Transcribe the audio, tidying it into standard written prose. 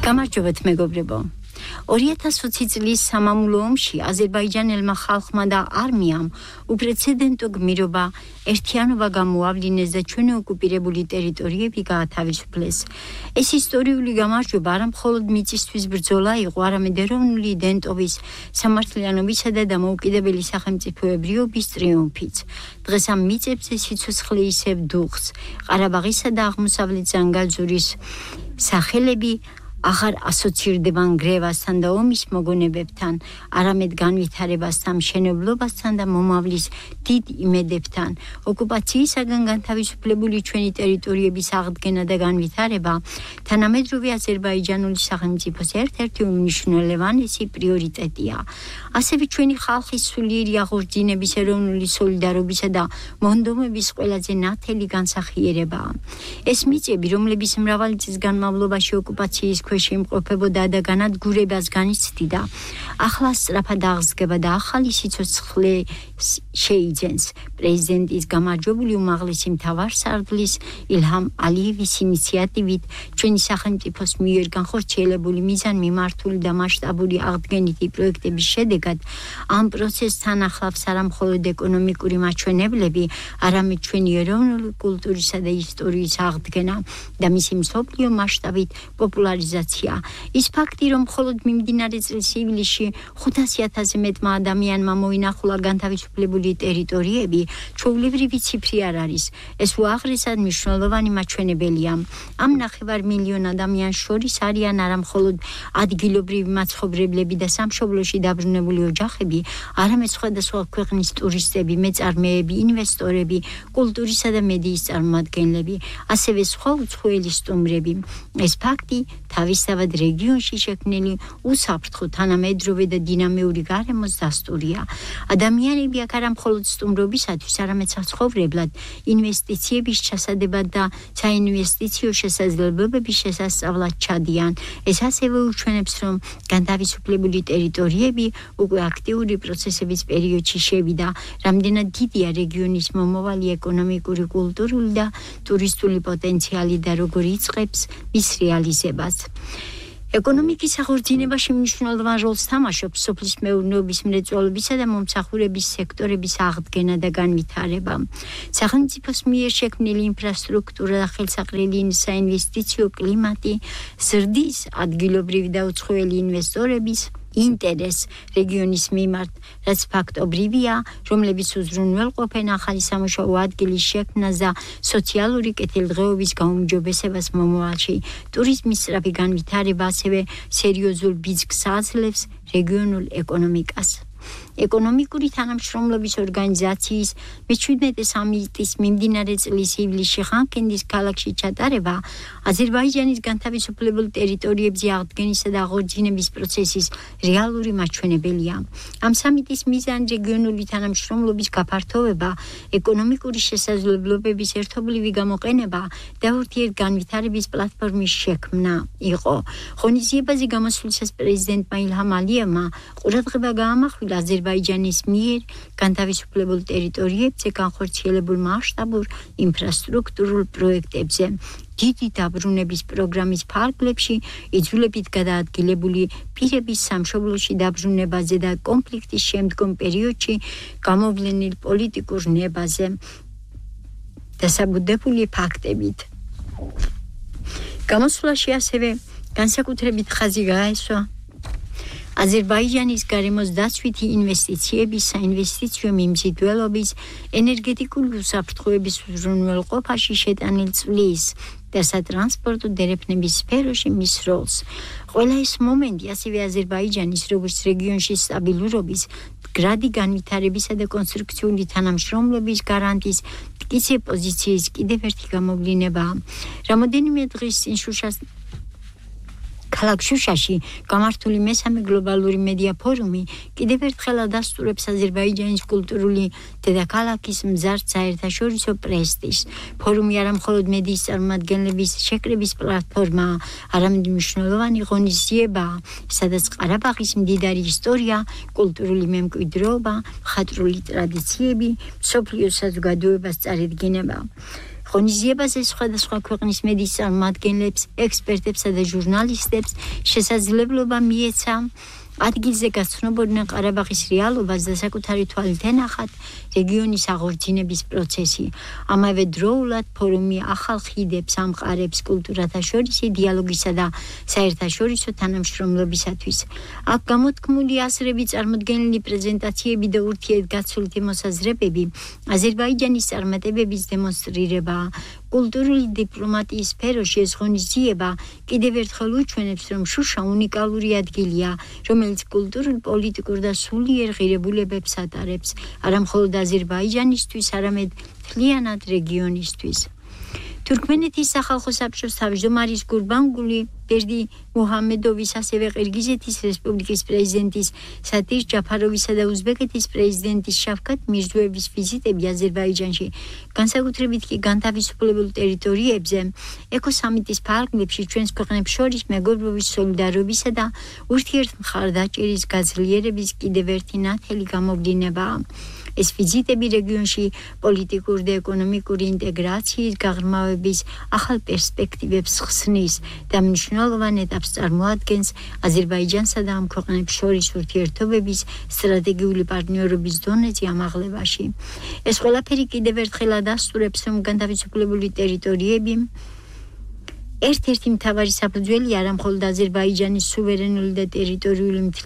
გამარჯობათ მეგობრებო. 2020 წლის სამამულო ომში აზერბაიჯანელმა ხალხმა და არმიამ უპრეცედენტო გმირობა ერთიანობა გამოავლინეს და ჩვენი ოკუპირებული ტერიტორიები გაათავისუფლეს. ეს ისტორიული გამარჯვება არა მხოლოდ მიწისთვის ბრძოლა იყო, არამედ ეროვნული იდენტობის, სამართლიანობისა და დამოუკიდებელი სახელმწიფოებრიობის ტრიუმფიც. დღეს ამ მიწებზე სიცოცხლე ისევ დუხს. ყარაბაღისა და აღმოსავლეთ ზანგალზურის სახელები აღარ ასოცირდება ნგრევასთან და ომის მოგონებებთან, არამედ განვითარებასთან, მშენებლობასთან და მომავლის დიდ იმედებთან. ოკუპაციისაგან განთავისუფლებული ჩვენი ტერიტორიების აღდგენა და განვითარება თანამედროვე აზერბაიჯანული სახელმწიფოს ერთ-ერთი უმნიშვნელოვანესი პრიორიტეტია. ასევე ჩვენი ხალხის სულიერი აღორძინების, ეროვნული სოლიდარობისა და მონდომების ყველაზე ნათელი განსახიერებაა. ეს მიწები, რომლებიც მრავალი წლის განმავლობაში ოკუპაციის ქვეშ იმყოფებოდა და განადგურებას განიცდიდა, ახლა სწრაფად აღსგება და ახალი სიცოცხლე შეიძენს. პრეზიდენტის გამარჯვებული უმაღლესი მთავარსარდლის ილჰამ ალიევის ინიციატივით ჩვენი სახელმწიფოს მიერ განხორციელებული მიზანმიმართული და მასშტაბური აღდგენითი პროექტების შედეგად ამ პროცესთან ახლავს არა მხოლოდ ეკონომიკური მაჩვენებლები, არამედ ჩვენი ეროვნული კულტურისა და ისტორიის აღდგენა და მისი მსოფლიო მასშტაბით პოპულარიზაცია. ის ფაქტი, რომ მხოლოდ მიმდინარე წლის ივლისში 500,000-ზე მეტმა ადამიანმა მოინახულა განთავისუფლებული ტერიტორიები, ჩვეულებრივი ციფრი არ არის. ეს უაღრესად მნიშვნელოვანი მაჩვენებელია. ამ 9 მილიონ ადამიანს შორის არიან არა მხოლოდ ადგილობრივი მაცხოვრებლები და სამშობლოში დაბრუნებული ოჯახები, არამედ სხვადასხვა ქვეყნის ტურისტები, მეწარმეები, ინვესტორები, კულტურისა და მედიის წარმომადგენლები, ასევე სხვა უცხოელი სტუმრები. ეს ფაქტი თავისთავად რეგიონში შექმნილი უსაფრთხო, თანამედროვე და დინამიური გარემოს დასტურია. ადამიანები აქ არა მხოლოდ სტუმრობისათვის, არამედ საცხოვრებლად, ინვესტიციების ჩასადებად და საინვესტიციო შესაძლებლობების შესასწავლად ჩადიან. ეს ასევე უჩვენებს, რომ განთავისუფლებული ტერიტორიები უკვე აქტიური პროცესების პერიოდში შევიდა. რამდენად დიდია რეგიონის მომავალი ეკონომიკური, კულტურული და ტურისტული პოტენციალი და როგორ იწყებს მის რეალიზებას. ეკონომიკის აღორძინებაში მნიშვნელოვან როლს თამაშობს სოფლის მეურნეობის, მრეწველობისა და მომსახურების სექტორების აღდგენა და განვითარება. სახელმწიფოს მიერ შექმნილი ინფრასტრუქტურა და ხელსაყრელი საინვესტიციო კლიმატი ზრდის ადგილობრივი და უცხოელი ინვესტორების ინტერესს რეგიონის მიმართ, რაც ფაქტობრივია, რომლებიც უზრუნველყოფენ ახალი სამუშაო ადგილის შექმნას და სოციალური კეთილდღეობის გაუმჯობესებას მომავალში. ტურიზმის სწრაფი განვითარება ასევე სერიოზულ ბიძგს აძლევს რეგიონულ ეკონომიკას. ეკონომიკური თანამშრომლობის ორგანიზაციის მე-17 სამიტის მიმდინარე წლის ივლისში ხანქენდის ქალაქში ჩატარება აზერბაიჯანის განთავისუფლებულ ტერიტორიებზე აღდგენისა და აღორძინების პროცესის რეალური მაჩვენებელია. ამ სამიტის მიზანი რეგიონული თანამშრომლობის გაფართოვება, ეკონომიკური შესაძლებლობების ერთობლივი გამოყენება და ურთიერთგანვითარების პლატფორმის შექმნა იყო. ღონისძიებაზე გამოსვლისას პრეზიდენტმა ილჰამ ალიევმა ყურადღება გაამახვილა აზერბაიჯანის მიერ განთავისუფლებულ ტერიტორიებზე განხორციელებულ მასშტაბურ ინფრასტრუქტურულ პროექტებზე. დიდი დაბრუნების პროგრამის ფარგლებში იძულებით გადაადგილებული პირების სამშობლოში დაბრუნებაზე და კონფლიქტის შემდგომ პერიოდში გამოვლენილ პოლიტიკურ ნებაზე დასაბუთებული ფაქტებით. გამოსვლაში ასევე განსაკუთრებით ხაზი გაესვა აზერბაიჯანის გარემოს დაცვითი ინვესტიციების, საინვესტიციო მიმზიდველობის, ენერგეტიკული უსაფრთხოების უზრუნველყოფაში შეტანილ წვლის და სატრანსპორტო დერეფნების სფეროში მის როლს. ყველა ეს მომენტი ასევე აზერბაიჯანის როგორც რეგიონში სტაბილურობის, მდგრადი განვითარებისა და კონსტრუქციული თანამშრომლობის გარანტის მტკიცე პოზიციის კიდევ ერთი გამოვლინებაა. რამოდენიმე დღის წინ ქალაქ შუშაში გამართული მესამე გლობალური მედია ფორუმი კიდევ ერთხელ ადასტურებს აზერბაიჯანის კულტურული დედაქალაქის მზარდ საერთაშორისო პრესტიჟს. ფორუმი არა მხოლოდ მედიის წარმომადგენლების შეკრების პლატფორმაა, არამედ მნიშვნელოვანი ღონისძიებაა, სადაც ყარაბაღის მდიდარი ისტორია, კულტურული მემკვიდრეობა, მხატვრული ტრადიციები, მსოფლიო საზოგადოებას წარედგინება. ღონისძიებაზე სხვადასხვა ქვეყნის მედიის წარმომადგენლებს, ექსპერტებსა და ჟურნალისტებს შესაძლებლობა მიეცა ადგილზე გაცნობოდნენ ყარაბაღის რეალობას და საკუთარი თვალით ენახათ რეგიონის აღორძინების პროცესი. ამავე დროულად ფორუმი ახალ ხიდებს ამყარებს კულტურათა შორისი დიალოგისა და საერთაშორისო თანამშრომლობისათვის. აქ გამოთქმული აზრები, წარმოდგენილი პრეზენტაციები და ურთიერთგაცვლითი მოსაზრებები აზერბაიჯანის წარმატებების დემონსტრირებაა. კულტურული დიპლომატიის სფეროში ეს ღონისძიება კიდევ ერთხელ უჩვენებს, რომ შუშა უნიკალური ადგილია, რომელიც კულტურულ, პოლიტიკურ და სულიერ ღირებულებებს ატარებს, არა მხოლოდ აზერბაიჯანისთვის, არამედ მთლიანად რეგიონისთვის. თურქმენეთის სახალხო საბჭოს თავმჯდომარის გურბანგული ბერდი მუჰამედოვის, ასევე ყირგიზეთის რესპუბლიკის პრეზიდენტის სადირ ჯაფაროვისა და უზბეკეთის პრეზიდენტის შავკათ მირზოევის ვიზიტები აზერბაიჯანში, განსაკუთრებით კი განთავისუფლებულ ტერიტორიებზე, ეკოსამიტის ფარგლებში ჩვენს ქვეყნებს შორის მეგობრობის, სოლიდარობისა და ურთიერთმხარდაჭერის გაძლიერების კიდევ ერთი ნათელი გამოვლინებაა. ეს ვიზიტები რეგიონში პოლიტიკური და ეკონომიკური ინტეგრაციის გაღრმავების ახალ პერსპექტივებს ხსნის და მნიშვნელოვან ეტაპს წარმოადგენს აზერბაიჯანსა და ამ ქვეყნებს შორის ურთიერთობების სტრატეგიული პარტნიორობის დონეზე ამაღლებაში. ეს ყველაფერი კიდევ ერთხელ ადასტურებს, რომ განთავისუფლებული ტერიტორიები ერთ-ერთი მთავარი საფუძველი არა მხოლოდ აზერბაიჯანის სუვერენული და ტერიტორიული